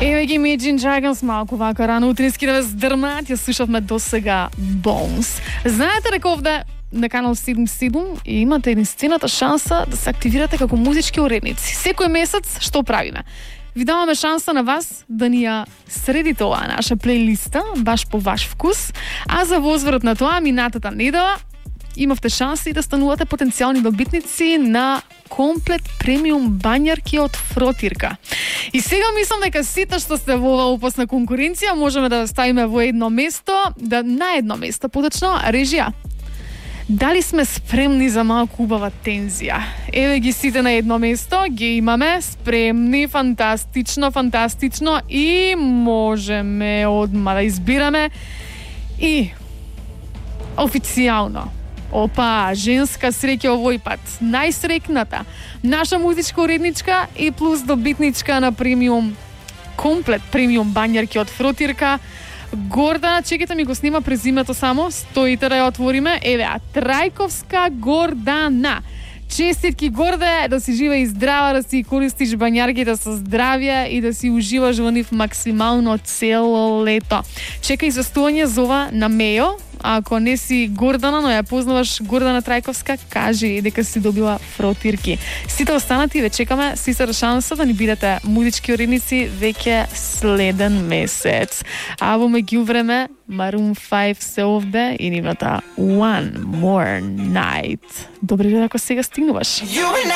Еве ги Imagine Dragons малку вака рано утрински да ве здрмат, ја слушавме до сега Bones. Знаете дека овде на канал 77 имате единствената шанса да се активирате како музички уредници. Секој месец што правиме? Ви даваме шанса на вас да ни ја средите оваа наша плейлиста, баш по ваш вкус, а за возврат на тоа минатата недела имавте шанси да станувате потенцијални добитници на комплет премиум бањарки од Фротирка. И сега мислам дека сите што сте во оваа опасна конкуренција можеме да ставиме во едно место, на едно место, поточно режија. Дали сме спремни за малку убава тензија? Еве ги сите на едно место, ги имаме спремни, фантастично и можеме одма да избираме и официјално. Опа, женска среќа овој пат. Најсрекната, наша музичка уредничка и плюс добитничка на премиум, комплет премиум бањарки од Фротирка. Гордана, чекайте ми го снима презимето само, стоите да ја отвориме. Еве, Трајковска Гордана. Честитки, Горде, да си жива и здрава, да си користиш бањарките со здравје и да си уживаш во нив максимално цело лето. Чекај известување за ова на Мејо. Ако не си Гордана, но ја познаваш Гордана Трајковска, кажи дека си добила Фротирки. Сите останати ве чекаме, си се шанса да ни бидете музички уредници веќе следен месец. А во меѓувреме, Maroon 5 се овде и нивната One More Night. Добре дека сега стигнуваш.